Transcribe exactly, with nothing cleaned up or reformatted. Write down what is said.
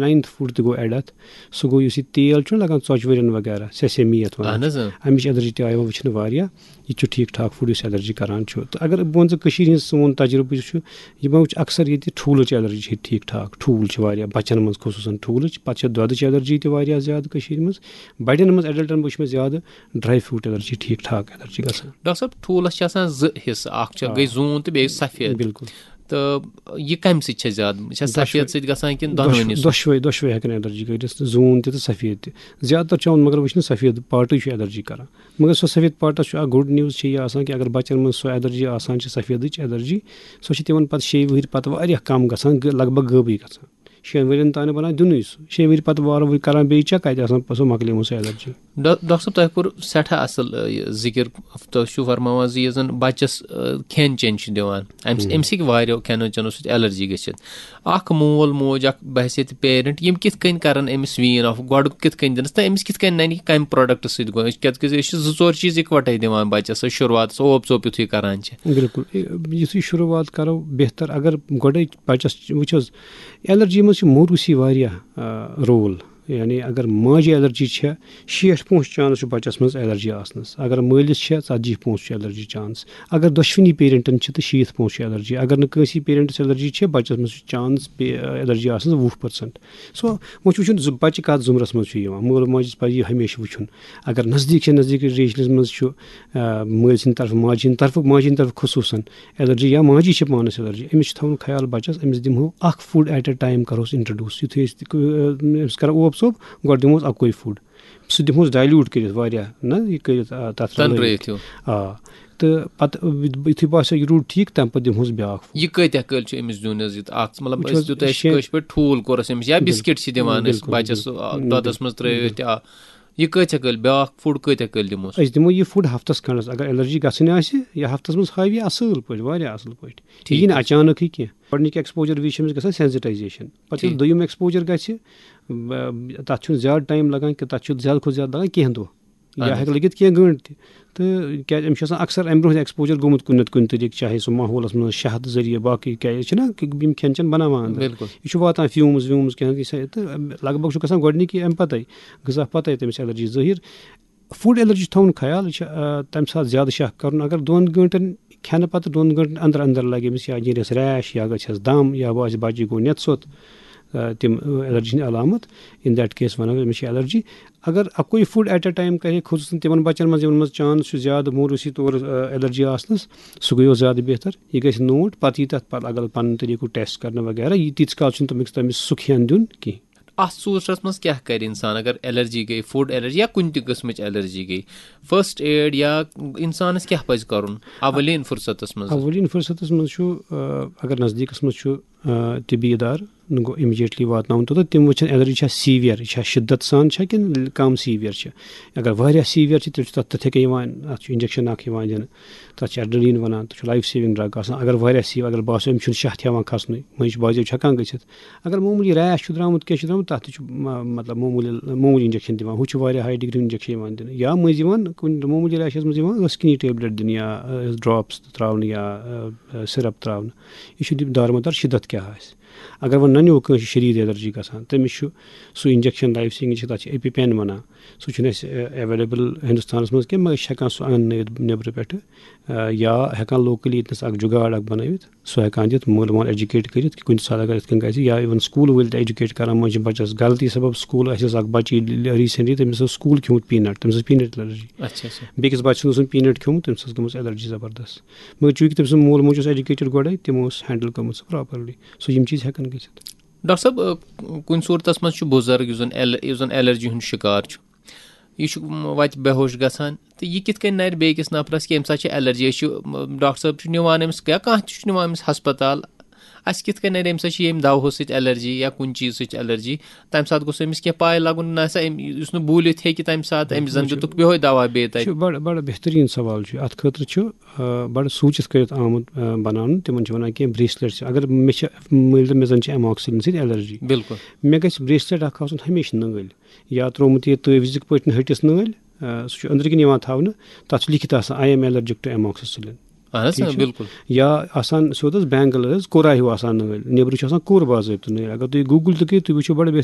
Ninth food تہِ گوٚو add اَتھ۔ سُہ گوٚو یُس یہِ تیل چھُ لگان ژۄچہِ ؤرٮ۪ن وغیرہ، سیسے میتھ وَنان۔ اہن حظ اۭں۔ اَمِچ ایلرجی تہِ آیہِ وۄنۍ وٕچھنہٕ واریاہ۔ یہِ تہِ چھُ ٹھیٖک ٹھاک فوڈ یُس ایلرجی کران چھُ۔ تہٕ اگر بہٕ وَنہٕ ژٕ کٔشیٖرِ ہِنٛز سون تجرُبہٕ یُس چھُ، یہِ ما وٕچھ اکثر ییٚتہِ ٹھوٗلٕچ ایلرجی چھِ ٹھیٖک ٹھاک۔ ٹھوٗل چھِ واریاہ بَچَن منٛز خصوٗصاً ٹھوٗلٕچ، پَتہٕ چھِ دۄدٕچ ایلرجی تہِ واریاہ زیادٕ کٔشیٖرِ منٛز۔ بَڑٮ۪ن منٛز، ایڈلٹَن منٛز وٕچھ مےٚ زیادٕ ڈراے فروٹ ایلرجی ٹھیٖک ٹھاک ایلرجی گژھان۔ ڈاکٹر صٲب، ٹھوٗلَس چھِ آسان زٕ حصہٕ، اکھ چھِ آ۔ گٔے زوٗن تہٕ بیٚیہِ سفید۔ بِلکُل۔ تہٕ یہِ کَمہِ سۭتۍ چھےٚ زیادٕ؟ یہِ چھےٚ دۄشوے۔ سفید سۭتۍ گژھان کِنہٕ دۄشوے، دۄنوٕنی سۭتۍ؟ دۄشوے، دۄشوے ہٮ۪کن ایلرجی کٔرِتھ، زوٗن تہِ تہٕ سفید تہِ۔ زیادٕ تر چھُ آمُت مگر وٕچھنہٕ سفید پارٹٕے چھُ ایلرجی کران۔ مگر سۄ سفید پارٹس چھُ اکھ گُڈ نیوز چھِ یہِ آسان کہِ اگر بچن منٛز سۄ ایلرجی آسان چھِ سفیدٕچ ایلرجی، سۄ چھِ تِمن پتہٕ شیٚیہِ وٕہٕرۍ پتہٕ واریاہ کم گژھان، غٲ-، لگ بھگ غٲبٕے گژھان۔ شیٚن ؤرین تام نہٕ بنان دِنُے سُہ۔ شیٚیہِ وٕہٕرۍ پتہٕ وارٕ وٕہٕرۍ کران بیٚیہِ چیک، کتہِ آسان سۄ مۄکلیمٕژ سۄ ایلرجی۔ ڈا-، ڈاکٹر صٲب، تۄہہِ کوٚر سٮ۪ٹھاہ اصل، آ، یہِ ذِکِر۔ تُہۍ چھِو فرماوان زِ یُس زن بچس، آ، کھٮ۪ن چٮ۪ن چھِ دِوان، امہِ سۭتۍ، ہُم۔ امہِ سۭتۍ ہیٚکہِ واریاہو کھٮ۪نو چٮ۪نو سۭتۍ ایلرجی گٔژھِتھ۔ اکھ مول موج، اکھ بحیثیت پیرنٹ، یِم کِتھ کٔنۍ کرن أمِس وین آف، گۄڈٕ کِتھ کٔنۍ دِنس تہٕ أمِس کِتھ کٔنۍ ننہِ کہِ کمہِ پروڈکٹ سۭتۍ گوٚو؟ کیازِ کہِ أسۍ چھِ زٕ ژور چیٖز اِکوٹے دِوان بچس، أسۍ شروعاتس اوپ ژوپ یُتھُے کران چھِ۔ بِلکُل۔ اے، یُتھُے شروٗعات کرو، بہتر اگر گۄڈے بچس وٕچھ حظ، ایلرجی منٛز چھِ موروثی واریاہ، آ، رول۔ یعنی اگر ماجہِ ایلرجی چھےٚ، شیٹھ پونٛسہٕ چانس چھُ بچس منٛز ایلرجی آسنس۔ اگر مٲلِس چھےٚ، ژتجی پونٛسہٕ چھُ ایلرجی چانس۔ اگر دۄشوٕنی پیرنٹن چھِ تہٕ شیٖتھ پونٛسہٕ چھُ ایلرجی۔ اگر نہٕ کٲنٛسی پیرنٹس ایلرجی چھےٚ، بچس منٛز چھُ چانس پے-، ایلرجی آسنس وُہ پٔرسنٹ۔ سو، وۄنۍ چھُ وٕچھُن زٕ بچہِ کتھ زُمرس منٛز چھُ یِوان۔ مول ماجہِ پزِ یہِ ہمیشہِ وٕچھُن۔ اگر نزدیٖک چھِ، نزدیٖک ریلیشنس منٛز چھُ، آ، مٲلۍ سٕنٛدِ طرفہٕ، ماجہِ ہٕنٛدِ طرفہٕ، ماجہِ ہٕنٛدِ طرفہٕ خصوٗصن ایلرجی یا ماجی چھِ پانس ایلرجی، أمِس چھُ تھاوُن خیال بچس، أمِس دِمہو اکھ فوڈ ایٹ اے ٹایم کرہوس انٹروڈیوس۔ یُتھُے أسۍ تہِ، آ، أمِس کرو اوپ ژوپ، گۄڈٕ دِمہوس اکوے فوڈ۔ سُہ دِمہوس ڈایلیوٹ کٔرِتھ واریاہ، نہ یہِ کٔرِتھ، آ، تتھ رلٲوِتھ۔ تنرٲیِتھ ہیوٗ۔ آ، تہٕ پتہٕ یُتھُے باسیو یہِ روٗد ٹھیٖک، تمہِ پتہٕ دِمہوس بیٛاکھ فوڈ۔ یہِ کۭتیاہ کٲلۍ چھُ أمِس دیُن حظ؟ یہِ اکھ، مطلب، وٕچھ أسۍ حظ، دیُت اَسہِ شیٚن-، کٲشِر پٲٹھۍ ٹھوٗل کوٚر اَسہِ أمِس، یا بِلکُل۔ بِسکِٹ چھِ دِوان أسۍ بِلکُل، بَچَس، بِلکُل۔ آ، بِلکُل۔ دۄدَس منٛز ترٛٲوِتھ تہِ، آ۔ یہِ کۭتیاہ کٲلۍ، بیٛاکھ فُڈ کۭتیاہ کٲلۍ دِموس؟ أسۍ دِمو یہِ فُڈ ہفتس کھنٛڈس، اگر ایلرجی گژھٕنۍ آسہِ، یا ہفتس منٛز ہاوِ یہِ اصٕل پٲٹھۍ، واریاہ اصٕل پٲٹھۍ۔ یہِ ٹھیٖک یی نہٕ حظ۔ اچانکٕے کینٛہہ۔ گۄڈٕنِکہِ ایکسپوجر وِزِ چھِ أمِس گژھان سینسٹایزیشن، پتہٕ ییٚلہِ ٹھیٖک۔ دوٚیِم ایکسپوجر گژھِ، ب-، تتھ چھُنہٕ زیادٕ ٹایم لگان کینٛہہ، تتھ چھُ زیادٕ کھۄتہٕ زیادٕ لگان کینٛہہ دۄہ۔ یا اہن حظ۔ ہٮ۪کہِ لٔگِتھ کینٛہہ گٲنٛٹہٕ تہِ۔ تہٕ کیٛازِ أمِس چھُ آسان اکثر اَمہِ برونٛہہ تہِ ایکسپوجر گوٚمُت کُنہِ نتہٕ کُنہِ طریٖقہٕ، چاہے سُہ ماحولس منٛز شہد ذٔریعہٕ، باقٕے کیٛازِ چھِنہ یِم کھٮ۪ن چٮ۪ن بناوان اندر۔ بِلکُل۔ یہِ چھُ واتان فیوٗمٕز ویوٗمٕز کینٛہہ تہِ سا-، تہٕ لگ بگ چھُ گژھان گۄڈٕنِکی اَمہِ پتے، غذا پتے تٔمِس ایلرجی ظٲہِر۔ فوڈ ایلرجی چھُ تھاوُن خیال، یہِ چھُ، آ، تَمہِ ساتہٕ زیادٕ شک کَرُن۔ اگر دۄن گٲنٛٹَن کھٮ۪نہٕ پَتہٕ دۄن گٲنٛٹَن اَندَر اَندَر لَگہِ أمِس یا نیرٮ۪س ریش یا گژھٮ۪س دَم یا باسہِ بَچہِ گوٚو نٮ۪تہٕ سوٚت، آ، تِم، آ، ایلرجی ہِنٛدۍ علامت، in that case وَنو أمِس چھِ ایلرجی۔ اگر اَکُے فوڈ ایٹ اے ٹایم کَرِ ہے، خصوٗصاً تِمَن بَچَن منٛز یِمَن منٛز چانس چھُ زیادٕ موروثی طور، آ، ایلرجی آسنَس، سُہ گٔیو زیادٕ بہتر۔ یہِ گژھِ نوٹ، پَتہٕ یی تَتھ پَتہٕ اگر پَنُن طریٖقہٕ ٹیسٹ کَرنہٕ وغیرہ، یہِ تیٖتِس کال چھُنہٕ تٔمِس، تٔمِس سُہ کھٮ۪ن دیُن کِہیٖنۍ۔ اَتھ صوٗرتَس منٛز کیٛاہ کَرِ اِنسان اگر ایلرجی گٔے، فوڈ ایلرجی یا کُنہِ تہِ قٕسمٕچ ایلرجی گٔے؟ فرسٹ ایڈ یا اِنسانَس کیٛاہ پَزِ کَرُن اولین فرصتَس منٛز؟ اولین فرصتس منٛز چھُ، آ، اگر نزدیٖکس منٛز چھُ، آ، طبی ادارٕ، نہٕ گوٚو امیجیٹلی واتناوُن توٚتتھ، تِم وٕچھن ایلرجی چھا سیویئر، یہِ چھا شدت سان چھا کِنہٕ کم سیویئر چھِ۔ اگر واریاہ سیویئر چھِ، تیٚلہِ چھُ تتھ تِتھے کٔنۍ یِوان، اتھ چھُ انجیکشن اکھ یِوان دِنہٕ، تتھ چھُ ایڈرینلین ونان، تتھ چھُ لایف سیونگ ڈرگ آسان۔ اگر واریاہ سیو، اگر باسیو أمِس چھُنہٕ شاہ تہِ ہٮ۪وان کھسنُے، مٔنٛزۍ چھُ بعضیو چھُ ہٮ۪کان گٔژھِتھ۔ اگر معموٗلی ریش چھُ درٛامُت، کینٛہہ چھُ درٛامُت، تَتھ تہِ چھُ، م-، مطلب، معموٗلی، معموٗلی انجیکشن دِوان۔ ہُہ چھُ واریاہ ہاے ڈگری انجیکشن یِوان دِنہٕ۔ یا مٔنٛزۍ یِوان کُنہِ معموٗلی ریشَس منٛز یِوان ٲس کِنی ٹیبلِٹ دِنہٕ یا، آ، ڈراپٕس تہِ ترٛاونہٕ یا، آ، آ، سِرَپ ترٛاونہٕ۔ یہِ چھُ دِ-، دارمدار شِدت کیٛاہ آسہِ۔ اگر وۄنۍ نَنیو کٲنٛسہِ شدیٖد ایلرجی گژھان، تٔمِس چھُ سُہ انجیکشن لایف سیونگ چھِ، تَتھ چھِ ایپی پین وَنان۔ سُہ چھُنہٕ اَسہِ، آ، ایویلیبل ہندوستانَس منٛز کینٛہہ، مگر أسۍ چھِ ہٮ۪کان سُہ اَنُن نٔوِتھ نیٚبرٕ پٮ۪ٹھٕ۔ آ، یا ہٮ۪کان لوکلی ییٚتنَس اکھ جُگاڑ اکھ بنٲوِتھ، سُہ ہٮ۪کان دِتھ، مٲلۍ مول ایجوکیٹ کٔرِتھ کہِ کُنہِ ساتہٕ اگر یِتھ کٔنۍ گژھِ، یا even سکوٗل وٲلۍ تہِ ایجوکیٹ کران، منٛزٕ چھِ بچس غلطی سبب سکوٗل، اَسہِ اوس اکھ بچہِ ریسنٹلی، تٔمِس اوس سکوٗل کھیوٚمُت پینٹ، تٔمِس ٲس پینٹ ایلرجی۔ اچھا، اچھا۔ بیٚکِس بچہِ سُنٛد اوس پینٹ کھیوٚمُت، تٔمِس ٲس گٔمٕژ ایلرجی زبردست۔ مگر چوٗنٛکہِ تٔمۍ سُنٛد مول موج اوس ایجوکیٹڈ گۄڈے، تِمو اوس ہینڈل گٔمٕژ سۄ پراپرلی۔ سو یِم چیٖز ہٮ۪کان گٔژھِتھ۔ ڈاکٹر صٲب، آ، کُنہِ صوٗرتس منٛز چھُ بُزرگ یُس زن ایل-، یُس زن ایلرجی ہُنٛد شِکار چھُ، یہِ چھُ، م، وتہِ بے ہوش گژھان، تہٕ یہِ کِتھ کٔنۍ نَرِ بیٚیِس نفرس کہِ أمِس سۭتۍ چھِ ایلرجی؟ أسۍ چھِ، م، ڈاکٹر صٲب چھُ نِوان أمِس یا کانٛہہ تہِ چھُ نِوان أمِس ہسپتال، اَسہِ کِتھ کٔنۍ نَرِ أمِس سۭتۍ چھِ ییٚمہِ دوہو سۭتۍ ایلرجی یا کُنہِ چیٖز سۭتۍ ایلرجی؟ تَمہِ ساتہٕ گوٚژھ أمِس کینٛہہ پاے لَگُن، نہ سا أمۍ، یُس نہٕ بوٗلِتھ ہیٚکہِ تَمہِ ساتہٕ، أمِس زَن وٕچھِو، دِتُکھ بیٚہوے دوا بیٚیہِ تَتہِ۔ چھُ بَڑٕ، بَڑٕ بہتریٖن سوال چھُ۔ اَتھ خٲطرٕ چھُ، آ، بَڑٕ سوٗنٛچِتھ کٔرِتھ آمُت، آ، بَناونہٕ۔ تِمَن چھِ وَنان کینٛہہ bracelet چھِ۔ اگر مےٚ چھِ مٲلۍ تہٕ مےٚ زَن چھِ amoxicillin سۭتۍ ایلرجی، بِلکُل۔ مےٚ گژھِ bracelet اَکھ آسُن ہمیشہِ نٲلۍ، یا ترٛوومُت یہِ تٲویٖزٕکۍ پٲٹھۍ ۂٹِس نٲلۍ، آ، سُہ چھُ أنٛدرٕ کِنۍ یِوان تھاونہٕ، تَتھ چھُ لیکھِتھ آسان، "I am allergic to amoxicillin"۔ اہن حظ، ٹھیٖک اۭں، چھُ؟ بِلکُل۔ یا آسان سیوٚد حظ بینگل حظ، کوٗرا ہیوٗ آسان نٲلۍ، نیٚبرٕ چھُ آسان کوٗر باضٲبطہٕ نٲلۍ۔ اگر تُہۍ Google تہِ کٔرِو، تُہۍ وٕچھِو بَڑٕ بہتر۔